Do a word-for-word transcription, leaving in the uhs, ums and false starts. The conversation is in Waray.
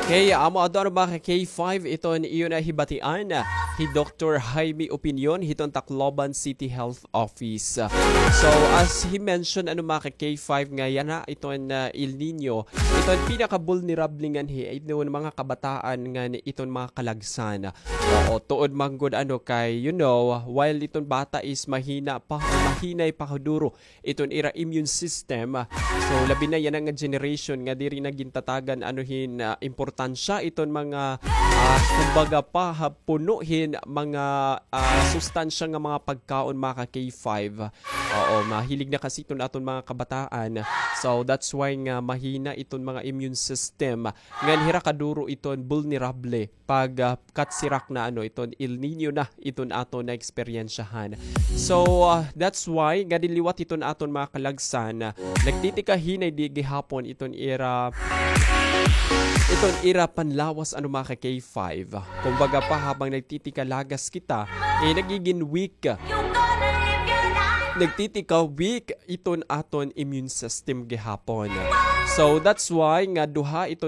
Okay, amo adto, ano, mga ka-K five, iton iyo na hibatian hi Doktor Jaime Opinion hiton Tacloban City Health Office. So, as he mentioned, ano, mga ka-K five, nga yana iton, ah, El Niño, iton pinaka-vulnerable nganhi iton mga kabataan ngan iton mga kalagsan. Oo, tuod man gud, ano, kay, you know, while iton bata is mahina pa, mahinay pa duro iton ira immune system. So, labi na yana nga generation nga diri na gintatagan, ano, hin, ah, importansya iton mga, ah, kumbaga pa, ha, puno hin mga, ah, sustansya nga mga pagkaon, mga ka-K five. Oo, mahilig na kasi iton aton mga kabataan. So, that's why nga mahina iton mga immune system. Ngan hira kaduro iton vulnerable pag, ah, katsirak na, ano, iton El Niño na iton aton naeksperyensyahan. So, ah, that's why nga dinhi liwat iton aton mga kalagsan, ah, nagtitika hinay di gihapon iton ira, iton ira panlawas, ano, mga ka-K five. Kumbaga pa, habang nagtitika lagas kita, eh, nagigin weak. Nagtitika weak iton aton immune system gihapon. So, that's why nga duha iton